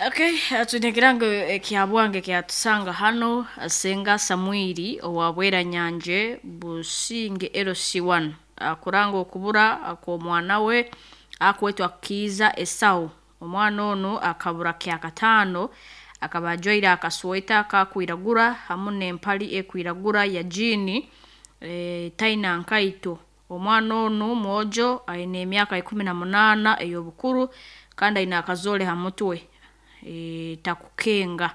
Okay, twine ekirango ekyabwange kyatusanga hano Senga Samwiri owa Bweranyanje Businge LC1 akuranga okubura kw'omwana we akwetwa Kiiza Esau. Omwana onu akabura kyakataano, akaba ajwaire akasweta akakwiragura hamu n'empali ekwiragura ya jiini, taina nkaito. Omwana onu mwojo aine emyaka 18 ey'obukuru kandi aine akazoole ha mutwe, takukenga.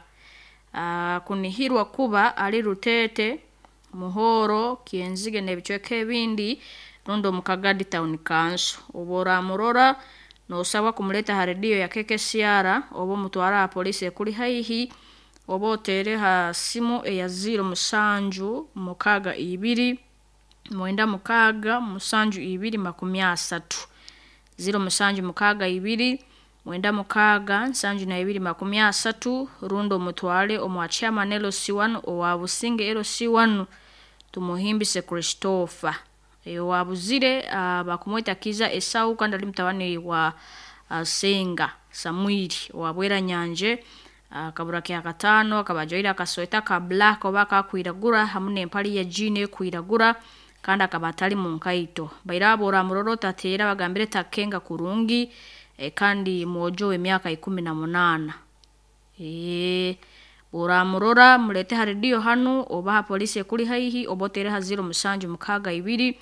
Kunihirwa kuba ali Ruteete, Muhoro, Kyenzige n'ebicweka ebindi rundi omu Kagadi Town Council. Obu oraamurora noosabwa kumuleeta ha rediyo ya KKCR oba omutwale ha poliisi ekuli haihi oba oteere ha simu eya 07 62 96 72 30. 07 62 96 72 30 rundi omutwale omwa chairman LC1 owa Businge LC1 Tumuhimbise Christopher. Owabuzire bakumweta Kiiza Esau kandi ali mutabani wa Senga Samwiri owa Bweranyanje, akabura kyakataano, akaba ajwaire akasweta ka black oba akakwiragura hamu n'empali ya jiini ekwiragura kandi akaba atali mu nkaito. Baire abo oramurora otateera bagambire takukenga kurungi, kandi mwojo w'emyaka 18. Oramurora muleete ha rediyo hanu oba ha poliisi ekuli haihi oba oteere ha 07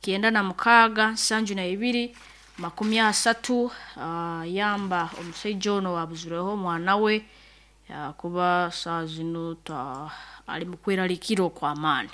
62 96 72 30, yamba omusaija onu owabuzirweho omwana we kuba saaha zinu ali mu kweraliikirra okw'amaani.